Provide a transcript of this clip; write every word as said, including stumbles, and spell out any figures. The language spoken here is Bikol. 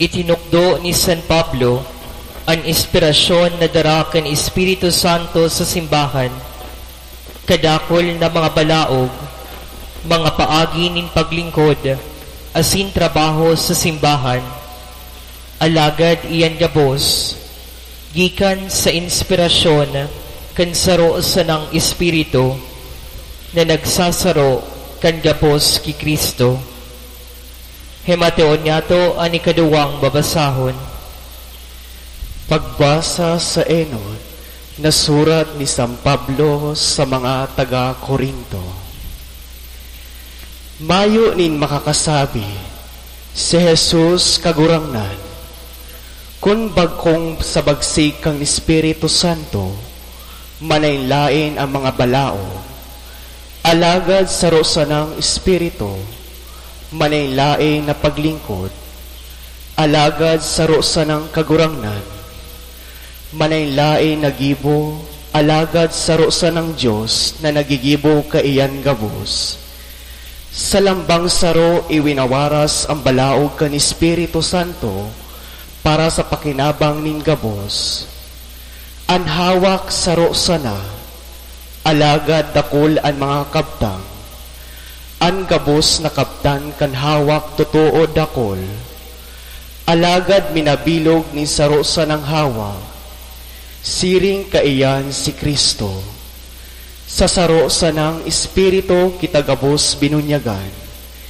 Itinukdo ni San Pablo an inspirasyon na dara kan Espiritu Santo sa simbahan. Kadakul na mga balaog, mga paagi nin paglingkod asin trabaho sa simbahan, alagad iyan gabos gikan sa inspirasyon kan saro sanang Espiritu na nagsasaro kan gabos ki Cristo. Himateon niyato an ikaduwang babasahon. Pagbasa sa enot na surat ni San Pablo sa mga taga Corinto. Mayo nin makakasabi si Jesus Kagurangnan, kun bagkong sa bagsig kan Espiritu Santo, manlaen-laen an mga balaog, alagad saro sanang Espiritu, manlaen-laen na paglingkod, alagad saro sanang Kagurangnan, manlaen-laen na gibo, alagad saro sanang Dios na naggigibo kaiyan gabos. Sa lambang saro iwinawaras an balaog kan Espiritu Santo para sa pakinabang nin gabos. An hawak saro sana, alagad dakul an mga kabtang. An gabos na kabtan kan hawak totoo dakul, alagad minabilog nin saro sanang hawak. Siring kaiyan si Cristo. Sa saro sanang Espiritu kita gabos binunyagan,